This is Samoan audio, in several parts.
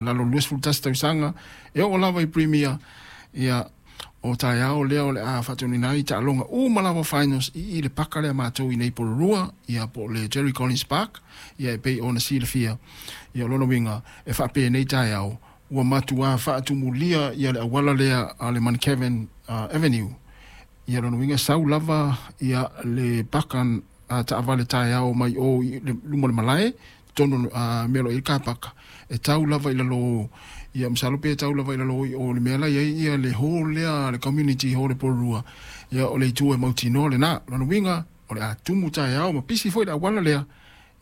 Lalo 21 tausaga e oo lava i Premier. Ia, o taeao lea o le a faatonuina ai taaloga uma lava finals i le paka lea matou i nei Porirua, ia po o le Jerry Collins Park, ia e pei ona silafia. Ia o lona uiga e faapenei taeao ua matua faatumulia ia le auala lea a le Mount Kevin Avenue. Ia lona uiga sau lava ia le paka taavale taeao mai o i luma o le malae totonu mea o lo o i ai le car park e tau lava i lalo, ia masalo pe tau lava i lalo i o le mea la i ai ia le hall lea, le community hall i Porirua. Ia o le itu e mautinoa lena. Lona uiga o le a tumu taeao ma pisi foi le auala lea,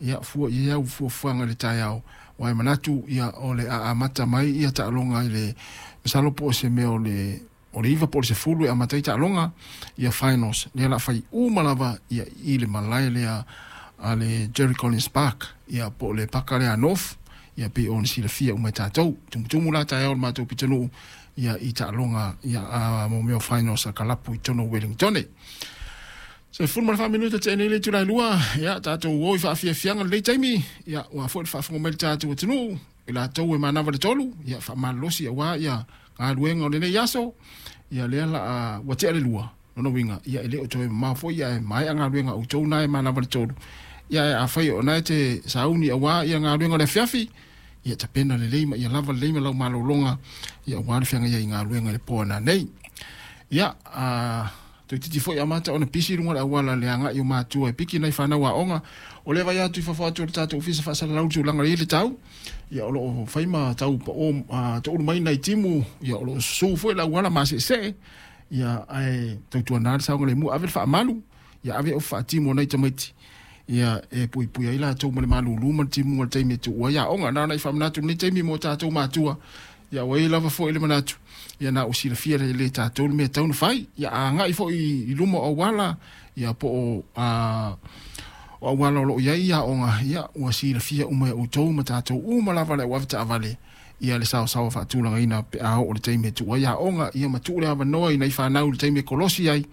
ia fua i ai au fuafuaga i le taeao, aua e manatu ia o le a amata mai ia taaloga i le masalo po o se mea o le 9 po o le 10 e amata ai taaloga ia finals lea o le a fai uma lava ia i le malae lea a le Jerry Collins Park, ia po o le paka lea a North, ia pei ona silafia uma e tatou. Tumutumu la taeao le matou pitonuu ia i taaloga ia mo mea o finals a kalapu i totonu o Wellington. 14 minute tea nei le itula e 2, ia tatou o i faafiafiaga lenei taimi, ia ua foi le faafofoga mai le tatou atunuu i latou e manava le 3, ia faamalolosi aua ia galuega o lenei aso, ia lea la ua tea le 2, lona uiga ia e le o toe mamao foi ia e maea galuega a outou na e manava le 3, ia ae afai o na e te sauni aua ia galuega o le afiafi, ia tapena lelei ma ia lava lelei ma lau malologa ia aua le feagai ai i galuega i le po a nanei. Ia toeitiiti foi amata ona pisi luga o le auala le agai o matua e piki nai fanau aoga. O lea vai atu i fafo atu o le tatou ofisa faasalalau le tulaga i le tau, ia o lo o fai ma tau pao toulu mai nai timu, ia o lo o susu foi le auala maseesee, ia ae tautuana le saogalemu, ave le faamalu, ia ave ofi faatimu o nai tamaiti, ia e puipui ai latou ma le malulu ma le timuga o le taimi e tuu ai aoga. Na ona i faamanatu lenei taimi mo tatou matua, ia ua i ai lava foi le manatu, ia na ua silafia le tatou le mea e tatau ona fai, ia agai foi i luma o auala, ia po o auala o lo o i ai aoga, ia ua silafia uma e outou ma tatou uma lava le au avetaavale, ia le saosaoa faatulagaina pe a oo le taimi e tuu ai aoga, ia ma tuu le avanoa i nai fanau i le taimi e kolosi ai,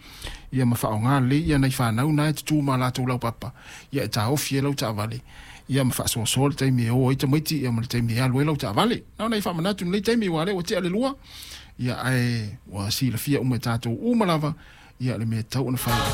ia ma faaaoga lelei ia nai fanau na e tutu ma latou laupapa, ia e taofi ai lau taavale, ia ma faasoasoa le taimi e o ai tamaiti, ia ma le taimi e alu ai lau taavale. Na ona i faamanatu lenei taimi aua o lea ua tea le 2, ia ae ua silafia uma e tatou uma lava ia le mea e tatau ona fai.